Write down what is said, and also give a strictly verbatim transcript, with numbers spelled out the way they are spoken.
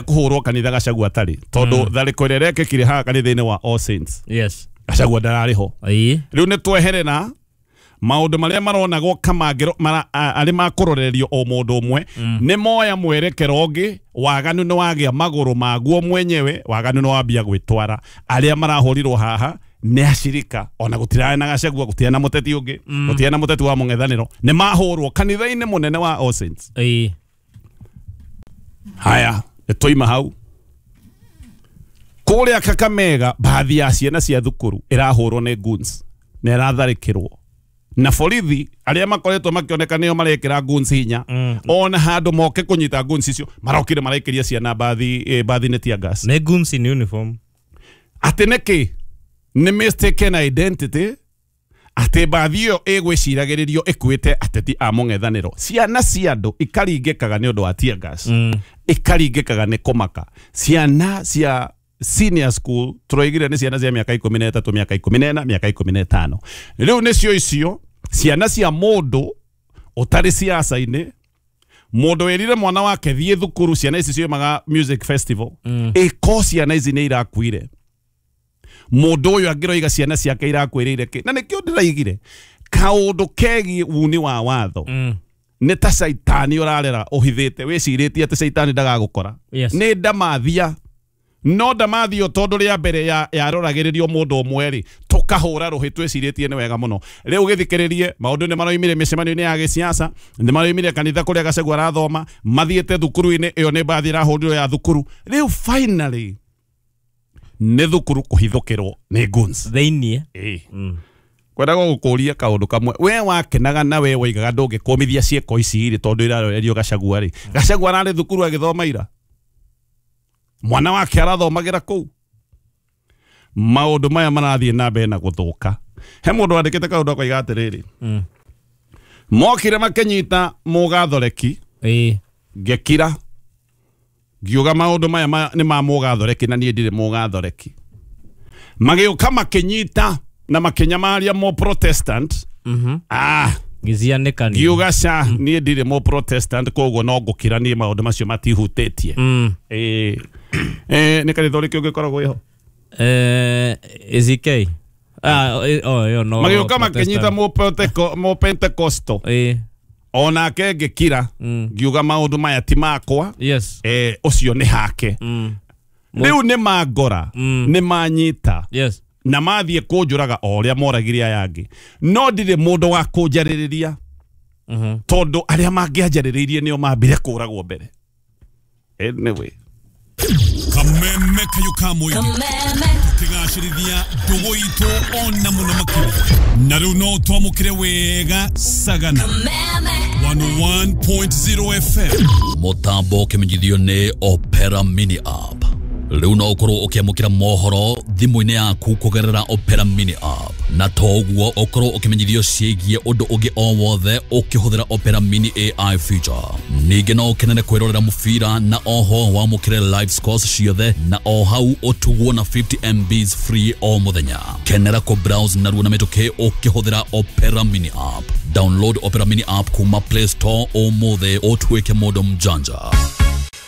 Kuhurwo kanitha Gachagua atarĩ tondũ tharĩko ĩrĩa ĩrekĩkire haha kanitha-inĩ wa All Saints. Yes. Gachagua ndararĩ ho. Ĩĩ. Rĩu nĩ tweherera maũndũ marĩa maronagwo kamangĩro arĩ ma kũrorerio o mũndũ ũmwe nĩ moya mwerekero ũngĩ. Waganu nĩ wagĩa magũrũ maguo mwenyewe, waganu nĩ wambia gwĩtwara. Arĩa marahũrirwo haha nĩ acirika ona gũtirarĩ na Gachagua, gũtirarĩ na mũteti ũngĩ, gũtirarĩ na mũteti wa mũng'ethanĩro, nĩ mahũrwo kanitha-inĩ mũnene wa All Saints. Ĩĩ. Haya, nĩ twaima hau kũrĩa Kakamega, baadhi ya ciana cia thukuru ĩrahũrwo nĩ goons na ĩratharĩkĩrwo na borithi arĩa makoretwo makĩoneka nĩo marekĩra goons hinya. Ona handũ moke kũnyita goons icio marokire maraikĩria ciana bathi eh, bathi nĩ tear gas. Nĩ goons in uniform. Atĩ nĩkĩ? Nĩ mistaken identity, atĩ bathi ĩyo ĩgwĩciragĩrĩrio ĩkuĩte ateti a mũng'ethanĩro. Ciana cia andũ ikaringĩkaga nĩ ũndũ wa tear gas, ikaringĩkaga nĩ kũmaka. Ciana cia senior school tũroigire nĩ ciana cia mĩaka ikũmi na ĩtatũ, mĩaka ikũmi na ĩna, mĩaka ikũmi na ĩtano. Rĩu nĩcio icio ciana cia mũndũ ũtarĩ siasa-inĩ, mũndũ wĩrire mwana wake thiĩ thukuru. Ciana ici ciumaga music festival, ĩko ciana ici nĩ irakuire. Mũndũ ũyũ angĩroiga ciana ciake irakuĩrĩire kĩ? Na nĩkĩo ndĩraigire kaũndũ kegiĩ wuni wa watho nĩ ta caitani ũrarera ũhithĩte, wĩcirĩtie atĩ caitani ndagagũkora. Yes. Nĩ ndamathia, no ndamathio tondũ rĩa mbere ya yaroragĩrĩrio mũndũ ũmwe rĩ, tũkahũra rũhĩ twĩcirĩtie nĩ wega mũno. Rĩu gĩthikĩrĩrie, maũndũ nĩ maroimire mĩcemanio-inĩ ya gĩsiasa, nĩ maroimire kanitha kũrĩa Gachagua arathoma, mathiĩte thukuru-inĩ ĩyo nĩ mbathi ĩrahũrirwo ya thukuru. Rĩu finally nĩ thukuru kũhithũkĩrwo nĩ goons thĩiniĩ. Ĩĩ, kwendaga gũkũria kaũndũ kamwe. We wakenaga na we waigaga ndũngĩkũmithia ciĩko ici rĩ, tondũ irarorerio Gachagua rĩ, Gachagua ararĩ thukuru agĩthoma ira, mwana wake arathomagĩra kũu. Maũndũ maya marathiĩ na mbere na gũthũka. He mũndũ wandĩkĩte kaũndũ akoiga atĩrĩrĩ, mokire makĩnyita mũgathoreki, Ĩĩ. ngĩkira ngiuga maũndũ maya ma, nĩ ma mũgathoreki na niĩ ndirĩ mũgathoreki. Magĩũka makĩnyita na makĩnyamaria mo Protestant. Mhm. Ah, Gĩcianĩkania. Ngiuga ca niĩ ndirĩ mo Protestant, koguo no ngũkira niĩ, maũndũ macio matihutĩtie. Mm. Ĩĩ, eh, nĩ kanitha ũrĩkũ ũngĩkoragwo ĩho? Eh, A C K. Ah, eh, oh, ĩyo no. Magĩũka makĩnyita mo Penteco- mo Pentecostal. Ĩĩ. Onake ngĩkira Mm. ngiuga maũndũ maya ti makwa. Yes. eh, ũcio nĩ hake. Mm. Rĩu nĩ mangora, Mm. nĩ manyita Yes. na mathiĩ kũnjũraga o ũrĩa moragire aya angĩ, no ndirĩ mũndũ wa kũnjarĩrĩria Mhm. tondũ arĩa mangĩanjarĩrĩirie nĩo mambire kũragwo mbere. Anyway. Kameme kayo ka mũingĩ tũkĩgacĩrithia ndũgũ itũ ona mũno makĩria, na rĩu no twamũkĩre wega Sagana one oh one point zero F M. Mũtambo ũkĩmenyithio nĩ Opera Mini app. Rĩu no ũkorwo ũkĩamũkĩra mohoro thimũ-inĩ yaku kũgerera Opera Mini app, na to ũguo, ũkorwo ũkĩmenyithio ciĩgiĩ ũndũ ũngĩ o wothe ũkĩhũthĩra Opera Mini A I feature. Ningĩ no ũkenere kwĩrorera mũbira na oho wamũkĩre live scores ciothe, na o hau ũtugwo na fifty M Bs free o mũthenya. Kenera kũ browse narua na mĩtũkĩ ũkĩhũthĩra Opera Mini app. Download Opera Mini app kuma Play Store ũmũthĩ ũtuĩke mũndũ mjanja.